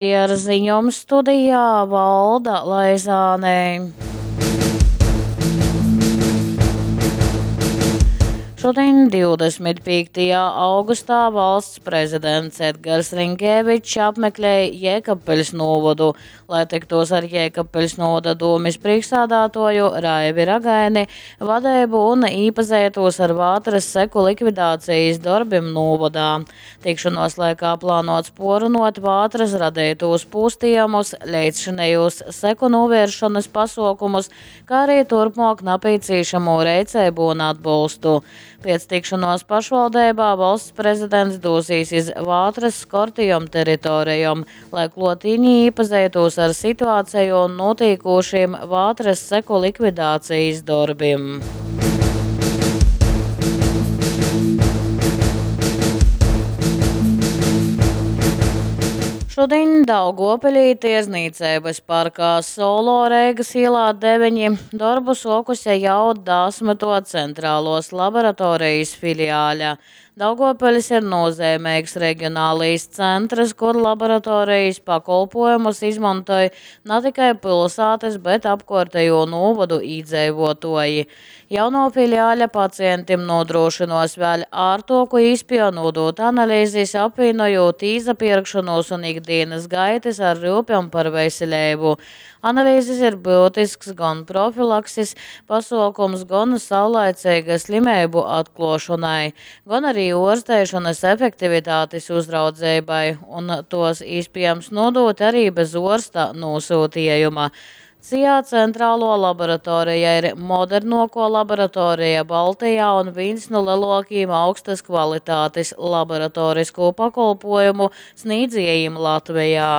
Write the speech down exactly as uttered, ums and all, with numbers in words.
Ar ziņom studijā Valda Laizāne. Šudiņ, divdesmit pīktajā augustā, valsts prezidents Edgars Rinkēvičs apmeklēja Jēkabpiļs nūvodu, lai tiktos ar Jēkabpiļs nūvoda dūmes priekšsādātoju Raivi Ragaini, vadeibu un īpazītos ar vātras seku likvidācijas darbim nūvodā. Tikšanos laikā plānots porunot vātras radītos pūstījumus, leidzšinējos seku novēršanas pasaukumus, kā arī turpmāk nepieciešamo rēcību un atbalstu. Pēc tikšanos pašvaldībā valsts prezidents dosies iz vātras skortījom teritorijom, lai klotīņi iepazītos ar situāciju un notīkošiem vātras seku likvidācijas darbiem. Šodien Daugopilī tieznīcības parkā Solo Reigas ielā deviņi darbu sokuse jau desmito centrālos laboratorijas filiāļa. Daugopilis ir nozīmīgs reģionālais centrs, kur laboratorijas pakolpojumus izmantoja ne tikai pilsētas, bet apkārtējo novodu iedzīvotāji. Jauno filiāļa pacientiem nodrošinos vēl ārtoku īspēju nodot analīzes, apvienojot īzapirkšanos un ikdienas gaitas ar rūpēm par veselību. Analīzes ir būtisks gan profilakses pasaukums, gan saulaicīga slimību atklāšanai, gan arī ārstēšanas efektivitātes uzraudzībai, un tos iespējams nodot arī bez ārsta nosūtījuma. C I A centrālo laboratorija ir modernāko laboratorija Baltijā un viens no lielākajiem augstas kvalitātes laboratorisko pakalpojumu sniedzējiem Latvijā.